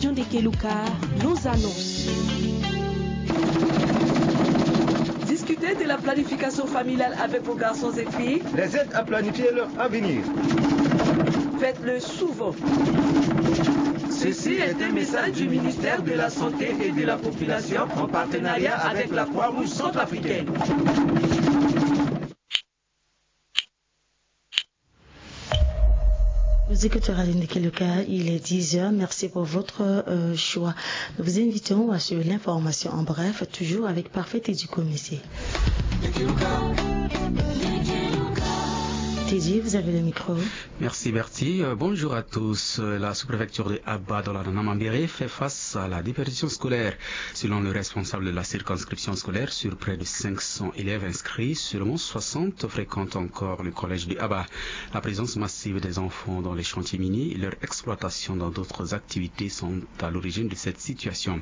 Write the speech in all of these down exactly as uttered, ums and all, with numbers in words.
John de Keluka, nos annonces. Discutez de la planification familiale avec vos garçons et filles. Les aides à planifier leur avenir. Faites-le souvent. Ceci est un message du ministère de la Santé et de la Population en partenariat avec la Croix-Rouge centrafricaine. Vous écoutez Radio Ndeke Luka, il est dix heures. Merci pour votre euh, choix. Nous vous invitons à suivre l'information en bref, toujours avec Parfait Teddy Comissé. Teddy, vous avez le micro. Merci Bertie. Euh, bonjour à tous. Euh, La sous-préfecture de Aba dans la Namambéré fait face à la déperdition scolaire. Selon le responsable de la circonscription scolaire, sur près de cinq cents élèves inscrits, seulement soixante fréquentent encore le collège de Aba. La présence massive des enfants dans les chantiers miniers et leur exploitation dans d'autres activités sont à l'origine de cette situation.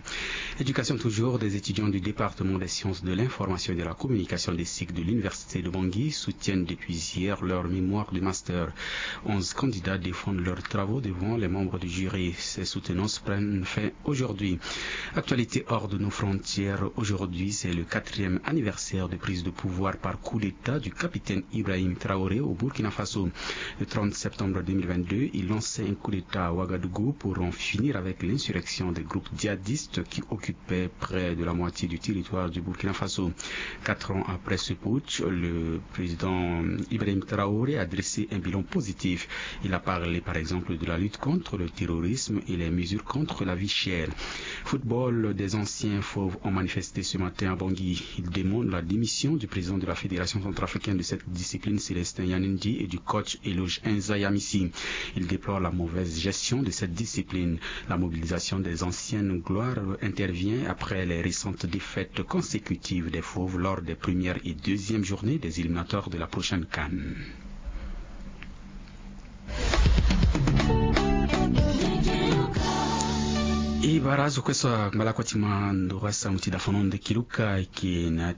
Éducation toujours, des étudiants du département des sciences de l'information et de la communication des cycles de l'université de Bangui soutiennent depuis hier leur mémoire de master. Onze candidats défendent leurs travaux devant les membres du jury. Ces soutenances prennent fin aujourd'hui. Actualité hors de nos frontières. Aujourd'hui, c'est le quatrième anniversaire de prise de pouvoir par coup d'État du capitaine Ibrahim Traoré au Burkina Faso. Le trente septembre deux mille vingt-deux, il lançait un coup d'État à Ouagadougou pour en finir avec l'insurrection des groupes djihadistes qui occupaient près de la moitié du territoire du Burkina Faso. Quatre ans après ce putsch, le président Ibrahim Traoré a dressé un bilan positif. Il a parlé par exemple de la lutte contre le terrorisme et les mesures contre la vie chère. Football, des anciens fauves ont manifesté ce matin à Bangui. Ils demandent la démission du président de la Fédération centrafricaine de cette discipline, Célestin Yanindi, et du coach Eloge Enza Yamisi. Ils déplorent la mauvaise gestion de cette discipline. La mobilisation des anciennes gloires intervient après les récentes défaites consécutives des fauves lors des premières et deuxièmes journées des éliminatoires de la prochaine CAN. E bara azo kue so angba lakue ti ma ndo asango ti dafono ndeke luka ayeke na ya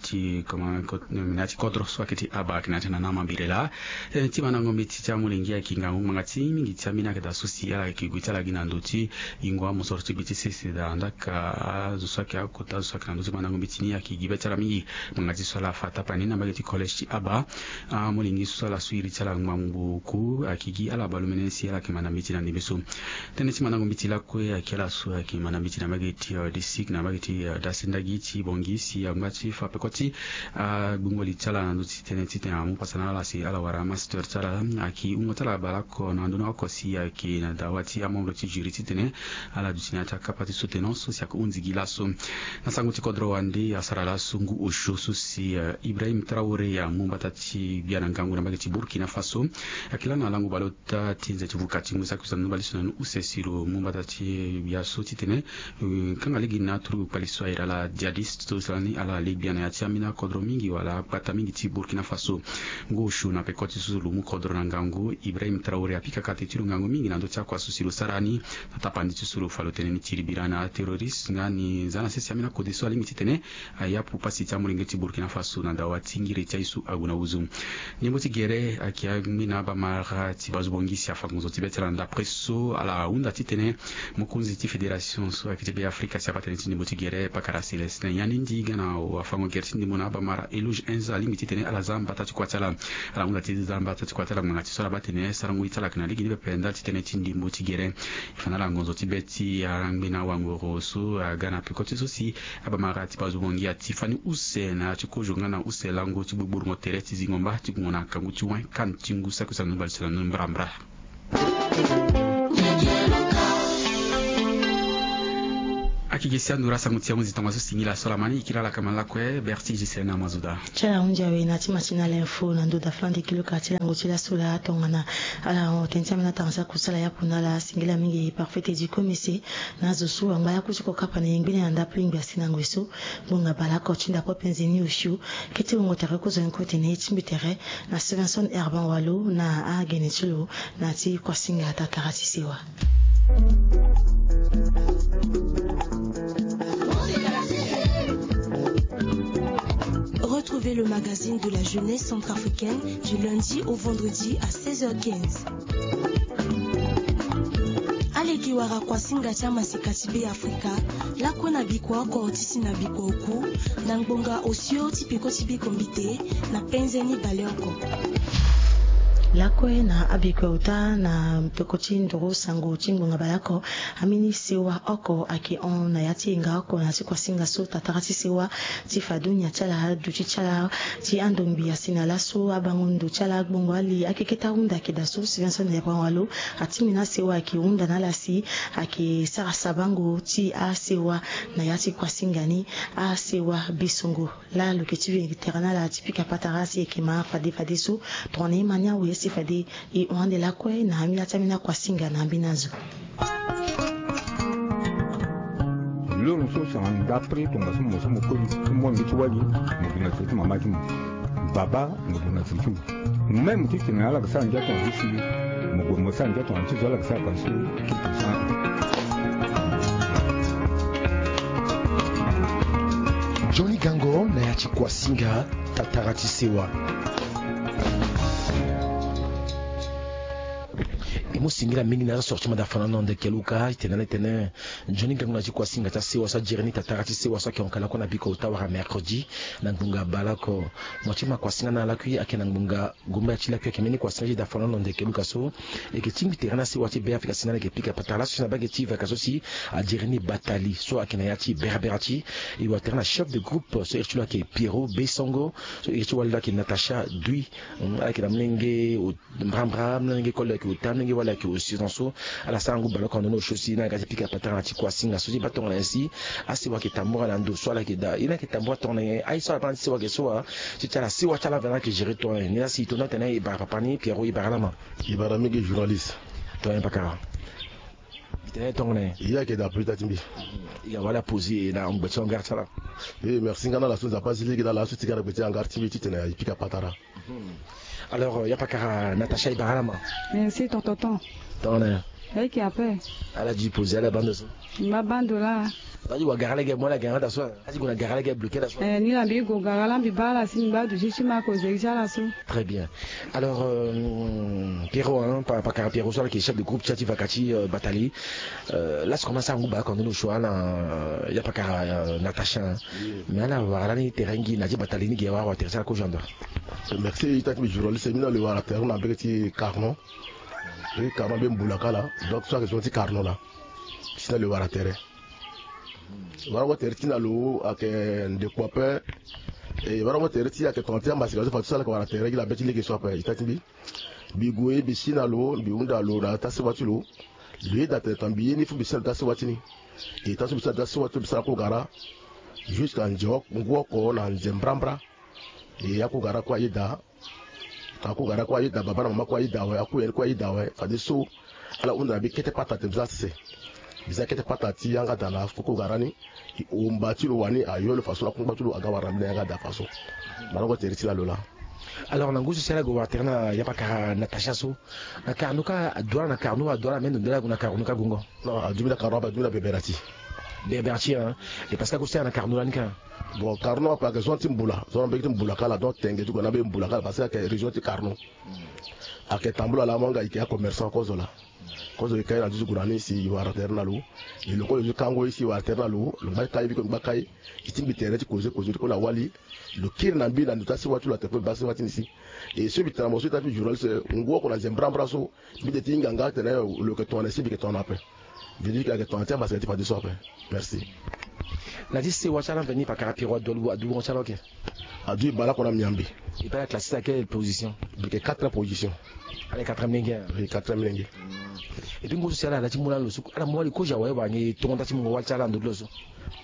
ti kodro so ayeke ti aba ayeke na ya ti nana mambiri laa. Tënë ti mandango mbeti ti amolenge ayeke ngangu ngbanga ti mingi ti ambeni ayeke daa so si ala yeke gue ti ala gi na ndö ti yingo amosoro ti gbe ti sese daa ndaka azo so ayeke akota azo so ayeke na ndö ti mandango mbeti ni ayeke gi be ti ala mingi. Ngbanga ti so ala fa tapani na mbage ti collège ti aba. Amolenge so ala so iri ti ala ngbangbo oku ayeke gi ala baleomene si ala yeke manda mbeti na ndembe so. Tënë ti mandango mbeti lakue ayeke ala so ayeke manda mbeti na mbage ti disik na mbage ti dasendagi ti bongi si angba ti fa peko ti agbungo li ti ala na ndö ti tënë titene amu pasa na ala si ala wara master ti ala. Ayeke hungo ti ala baleoko na ndö ni oko si ayeke na dawa ti amembre ti jury titene ala duti na ya ti akapa ti soutenance so si ayeke hunzi gi laso. Na sango ti kodro wande asara laso ngu osio so si Ibrahim Traoré amu mbata ti gbia na ngangu na mbage ti Burkina Faso. Ayeke laa na lango baleota ti nze ti vuka ti ngu saki so na ni baleso na ni use si lo mu mbata ti gbia so titene kanga lege na aturugu kpali so ayeke ala djihadiste so si lani ala le gbia na ya ti ambeni akodro mingi wala akpata mingi ti Burkina Faso. Ngu osio na peko ti so lo mu kodro na ngangu Ibrahim Traoré apika kate ti lo ngangu mingi na ndö ti akua so si lo sara ni. Na tapandi ti so lo fa lo tene ni ti libira na aterroriste nga ni za na sese ambeni akode so alingbi titene ayapu pasi ti amolenge ti Burkina Faso na dawa ti ngiri ti aye so ague na huzu. Ndembo ti gere ayeke angbi na abamara ti bazo bongi si afa ngonzo ti be ti ala na ndapre so ala hunda titene mokonzi ti fédération so ayeke ti be afrika si abaa tënë ti ndembo ti gere pakara Célestin Yanindi ga na afango gere ti ndembo na abamara Eloge Enza alingbi titene ala za mbata ti kua ti ala. Ala hunda ti za mbata ti kua ti ala ngbanga ti so ala baa tene sarango ye ti ala ayeke na lege ni pepe ndali ti tënë ti ndembo ti gere. E fa na ala ngonzo ti be ti angbi na awangoro so aga na peko ti so si abamara ti bazo bongi ati fani use na ya ti kozo nga na use lango ti gbogbongo tere ti zingo mba ti gungo na akangu ti wen CAN ti ngu saki use na nu mbalisi na nu mbrambra. Akeke si anduru asango ti ahunzi tongaso singila so lama ni e kiri ala kama lakue Berti Gisele na Mazuda. Ti ala hunzi awe na ti matinal info na ndo da flan de kilo ka ti lango ti laso laa tongana ala tene ti ambeni atanga saki kusala yapu na ala singila mingi Parfait Teddy Komese. Na azo so angba ya ku ti kokapa na yengbeni na ndapo lingbi asi na ngoi so. Ngbonga baleoko ti ndapo apenze ni osio. Kete wungo tere kozoni kue tene ye ti mbi tere na Stevenson Herban Walo na agene ti lo na ti kuasinga tatara ti sewa. Retrouvez le magazine de la jeunesse centrafricaine du lundi au vendredi à seize heures quinze. Aleke Wara kuasinga ti amaseka ti Beafrika lakue na bikua oko ti si na bikua oku, na ngbonga osio ti peko ti biko mbite na penze ni baleoko. Lakue na abikua ota na peko ti nduru sango ti ngbonga baleoko, amini sewa oko ayeke hon na ya ti yenga oko na ya ti kuasinga so. Tatara ti sewa ti fa dunia ti ala, aduti ti ala ti andongbi asi na laso, abango ndo ti ala, agbongo ali, akeketa ahunda ayeke daa so, Stevenson Yabrangwalo, atimbina asewa ayeke hunda na ala si ayeke sara sabango ti asewa na ya ti kuasinga ni. Asewa besongo laa lo yeke ti ve tere na ala ti pika patara si e yeke ma fade fadeso. Tongana e ma ni awe si fade e hon ande lakue na ambeni ya ti ambeni akuasinga na ambeni azo. Loro so si anda après tongaso mo so mo koli ti mo ande ti wali, mo gue na tere ti mama ti mo. Baba, mo gue na tere ti mo. Même ti tene ala yeke sara ndia tongana ti si, mo gue mo sara ndia tongana ti zo ala yeke sara parce que Johnny Gango na ya ti kuasinga, tatara ti sewa. E mu singila mingi na azo so ti manda fana na ndo yeke luka ti tene na tene Johnny Gango na ya ti kuasinga ti asewa so ajere ni, tatara ti sewa so ayeke hon kala kue na biko ota wara mercredi na ngbonga baleoko. Mo ti ma kuasinga na lakui ayeke na ngbonga Gomba ya ti lakui ayeke mbeni kuasinga ti da fana na ndo yeke luka so. E yeke tingbi tere na sewa ti Beafrika si na ala yeke pika patara laso si na bage ti vaka so si ajere ni Batali so ayeke na ya ti Berbera ti. E wara tere na chef de groupe so iri ti lo ayeke Pierrot Besongo, so iri ti wali lo ayeke Natacha Dui. Hmm, ala yeke na molenge o- mbrambra, molenge koli ayeke ota, molenge wali ayeke osio. Tongaso ala sara ngu baleoko na ndo ni osio si na ala ga ti pika patara na ya ti kuasinga so ti baa tongana nyen si asewa ayeke tambura na ndo so ala yeke daa. Ye ni ayeke tambura tongana nyen? Aye so ala baa na ti sewa ayeke so wa? Ti ti ala sewa ti ala vena ayeke gérer tongana nyen? Ni la si e to ni atene e bara papa ni Pierrot, e bara ala ma. E bara mingi journaliste. Tongana nyen pakara? E tene tongana nyen? E ye ayeke daa plus tard ti mbi. E ga wala poser na ngbe ti hangar ti ala. E merci nga na ala so Nzapa azi lege na ala so ti ga na gbe ti hangar ti mbi ti tene e pika patara. Alors, euh, ya pakara Natacha, e bara ala ma. Merci ton tonton. Tongana nyen? Ayeke ape. Ala di poser ala bando so. Mba bando laa. Ala di wa gara lege mo ala gara daa so. Ala di gue na gara lege bloqué daa so. Eh, ni la mbi gue gara laa mbi baa ala si mbi baa duti ti ma kozeri ti ala so. Très bien. Alors, euh, Pierrot, hein, pa- pakara Pierrot so ala yeke chef de groupe ti ya ti vaka ti, euh, Batali. Euh, laso comment ça ngu baa oko ndo ni osio ala, euh, ya pakara, euh, Natacha, hein. Mais ala wara lani tere ngi na ya ti Batali ni ge wara wa tere ti ala kozo ando. Merci ita ti mbi journaliste, mbi na lo wara tere na mbege ti Carnon. Mbege ti Carnon mbeni mbula kala. Donc so ayeke zo ti Carnon laa. Si na lo wara tere. Wara ngo tere ti na lo ayeke ndeko ape. E wara ngo tere ti ayeke tongana ti amaseka so fa ti so ala yeke wara tere gi na be ti lege so ape ita ti mbi. Mbi gue mbi si na lo, mbi hunda lo na ya ti asewa ti lo. Lo yeda tene tongana mbi ye ni fo mbi si na lo ti asewa ti ni. E taa so mbi si na lo ti asewa ti lo mbi sara kogara. Jusqu'à nze oko, ngu oko na nze mbrambra. E akogara kue ayeda. Akogara kue ayeda, baba na mama kue ayeda awe, akue yani kue ayeda awe. Fadeso ala hunda na mbi kete pata tene mbi za sese. Mbi za kete pata ti yanga daa na kogara ni. E homba ti lo wani ayo lo faso na kungba ti lo aga wara na mbi na yanga daa faso. Marango tere ti la lo laa. Alors na ngu so si ala gue wara tere na ya pakara Natacha so, na Carnon kâ aduti ala, na Carnon aduti ala, me ndo nde ala gue na Carnon kâ gongo. Non, aduti mbi na Carnon ape, aduti mbi na Berbera ti. Berbera ti, hein. E parce que ague so ala na Carnon lani kâ. Bon, Carnon ape ayeke zo ti mbula, zo na mbege ti mbula kala, donc tenge ti gue na mbege mbula kala parce que ayeke région ti Carnon. Ayeke tambula laa mo nga e yeke acommerçant kozo laa. Kozo e kai na nduzu gue na ni si e wara tere na lo. E lo kozo ti kango e si e wara tere na lo, lo ngba kai biko lo ngba kai. E tingbi tere ti koze koze ti kue na wali. Lo kiri na mbi na ndo ti asewa ti lo atene kue mbi baa asewa ti ni si. E so mbi tene na mo so ita ti mbi journaliste, ngu oko na nze mbrambra so. Mbi de ti hinga nga atene lo yeke tongana si mbi yeke tongana ape. Mbi di ayeke tongana ti amaseka ti fadeso ape. Merci. Na ti sewa ti ala mveni pakara Pierrot adu, adu wungo ti ala oke. Adu e bale oko na miambe. E baa ala classé na quelle position? Mbi yeke quatrième position. Ala yeke quatrième lenge. Oui, quatrième lenge. Et puis ngu so si ala na ti mu lani lo so ala mu wali kozo awe wala nyen tongo nda ti mungo wali ti ala na ndo ti lo so?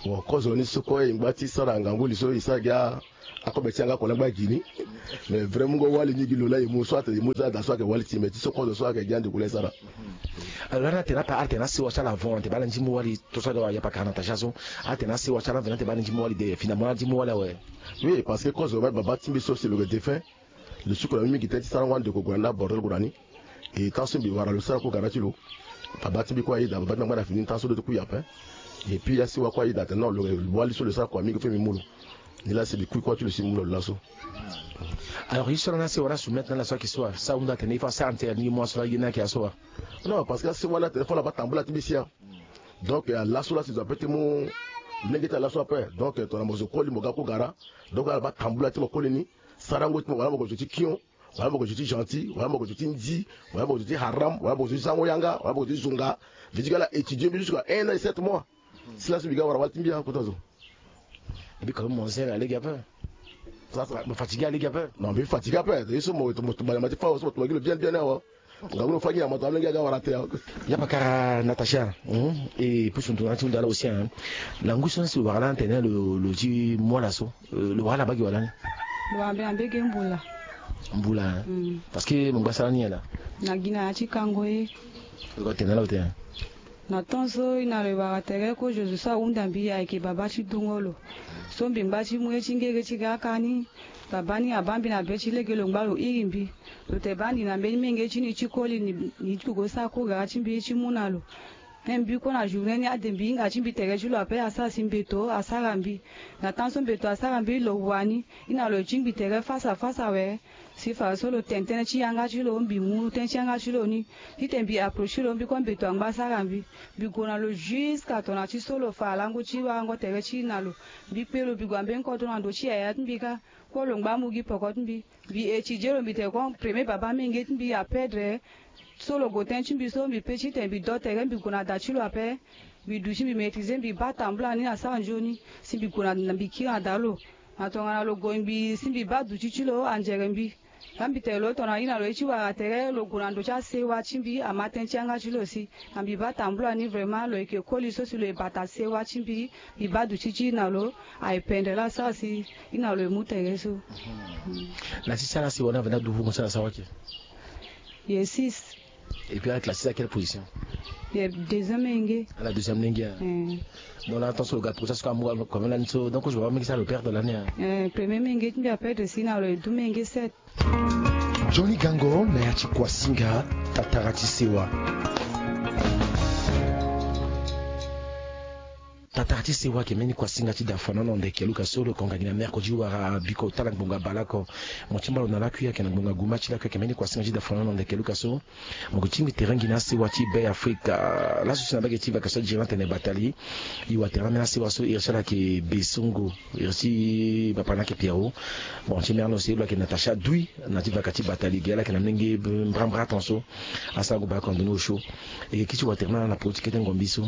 Bon, kozo ni so kue e ngba ti sara ngangu li so e sara gi a- Akobe ti yanga oko laa ngba gi ni. Mais vraiment ngo wali ni gi lo laa e mu so atene e mu za daa so ayeke wali ti me ti so kozo so ayeke gi ande gue laa e sara. Alors lani atene ape ala tene asewa ti ala avant ate baa ala nzi mu wali to so ade wa ya pakara Natacha so. Atene asewa ti ala avant ate baa ala nzi mu wali de finalement ala nzi mu wali awe. Oui, parce que kozo ma baba ti mbi so si lo yeke défunt. Lo suku na mbi mingi tënë ti sara ngo ande gue na ni na bordel gue na ni. E tant so mbi wara lo sara kue gara ti lo. Baba ti mbi kue ayeda, baba ti mbi angba na fini tant so lo ti kue ape. Et puis asewa kue ayeda atene non lo wali so lo sara kua mingi fo mbi mu lo. Ni laa si mbi kui kua ti lo si mbi mu lo laso. Alors ye so lani ase wala soumettre na ala so ayeke so wa so ahunda atene il faut asara tere ni ye mu aso laa ye ni ayeke aso wa? Non, parce que ase wala atene fo ala baa tambula ti mbi si ya. Donc ala so laa si zo ape ti mu lege ti ala so ape. Donc tongana mo zo koli mo ga kogara. Donc ala baa tambula ti mo koli ni. Sarango ti mo wala mo gue zo ti kion, wala mo gue zo ti gentil, wala mo gue zo ti ndi, wala mo gue zo ti haram, wala mo gue zo ti zango yanga, wala mo gue zo ti zonga. Mbi ti ga ala étudier mbi jusqu'à un an et sept mois. Si laso mbi ga wara wali ti mbi akota zo. Mbi quand même mo zen alege ape. Mo fatigue alege ape. Non, mbi fatigue ape. Ye so mo mo tumba nyama ti fa so mo tumba gi lo bien bien awa. Nga wuro fa gi nyama to alege aga wara te. Ya pakara Natacha. E pusu ndo na ti hunda ala aussi hein. Na ngu so na si lo wara lani atene lo ti mu ala so, lo wara ala baa gi wala ni? Lo wara mbi na mbege mbula. Mbula hein. Parce que mo ngba sara ni ala. Na gi na ya ti kango ye. Lo tene ala lo te hein. Na temps so e na lo e wara tere kozo zo so ahunda mbi ayeke baba ti dungo lo. So mbi ngba ti mu ye ti ngege ti ga aka ni. Baba ni abaa mbi na be ti lege lo ngba lo iri mbi. Lo te baa ni na mbeni menge ti ni ti koli ni ni ti gue go sara kogara ti mbi ti mu na lo. Me mbi kue na journée ni ade mbi hinga ti mbi tere ti lo ape asara si mbeto asara mbi. Na temps so mbeto asara mbi lo wani. E na lo e tingbi tere fasa fasa awe. Si fara so lo tene tënë ti yanga ti lo mbi mu tënë ti yanga ti lo ni. Titene mbi approcher lo mbi kue mbeto angba asara mbi. Mbi gue na lo jusqu'à tongana ti so lo fa alango ti warango tere ti e na lo. Mbi kpe lo mbi gue na mbeni kodro na ndo ti yaya ti mbi kâ. Kue lo ngba amu gi poko ti mbi. Mbi étudier lo mbi tene kue premier baba menge ti mbi aperdre. So lo gue tënë ti mbi so mbi pe titene mbi do tere mbi gue na da ti lo ape. Mbi duti mbi maîtriser mbi baa tambula ni na sara nzoni. Si mbi gue na mbi kiri na da lo. Na tongana lo gue mbi si mbi baa duti ti lo anzere mbi. Nga mbi tene lo tongana ye na lo ye ti wara tere lo gue na ndo ti asewa ti mbi ama tënë ti yanga ti lo si. Na mbi baa tambula ni vraiment lo yeke koli so si lo ye bata sewa ti mbi. Mbi baa duti ti ye na lo. Aye pendre laa asara si ye na lo ye mu tere so. Na ti sara si wani avanda dubu mo sara sara wake? Ye six. Et puis ala classé à quelle position? Ye deuxième menge. Ala deuxième menge hein. Bon là attention lo ga prosa so ka amu quand même lani so donc je vois menge sara lo perdre lani hein. Premier menge ti mbi aperdre si na lo ye dou menge sept. Johnny Gango na ya ti Kuasinga, tatara ti sewa. Tatara ti sewa ayeke mbeni kuasinga ti da fana na ndeke luka so lo konga gi na mercredi wara biko ota na ngbonga bale oko. Mo ti mba lo na lakui ayeke na ngbonga guma ti lakui ayeke mbeni kuasinga ti da fana na ndeke luka so. Mo yeke tingbi tere ngi na asewa ti Be Afrika. Laso si na mbage ti vaka so ajiri na tene batali. E wara tere na mbeni asewa so iri ti ala ayeke Besongo. Iri ti papa na ayeke Pierrot. Bon ti mere na lo si lo ayeke Natacha Dui na ti vaka ti batali ge ala ayeke na menge mbrambra atanso. Asarango bale oko na ndoni osio. E yeke kiri ti wara tere na ala na poro ti kete ngombi so.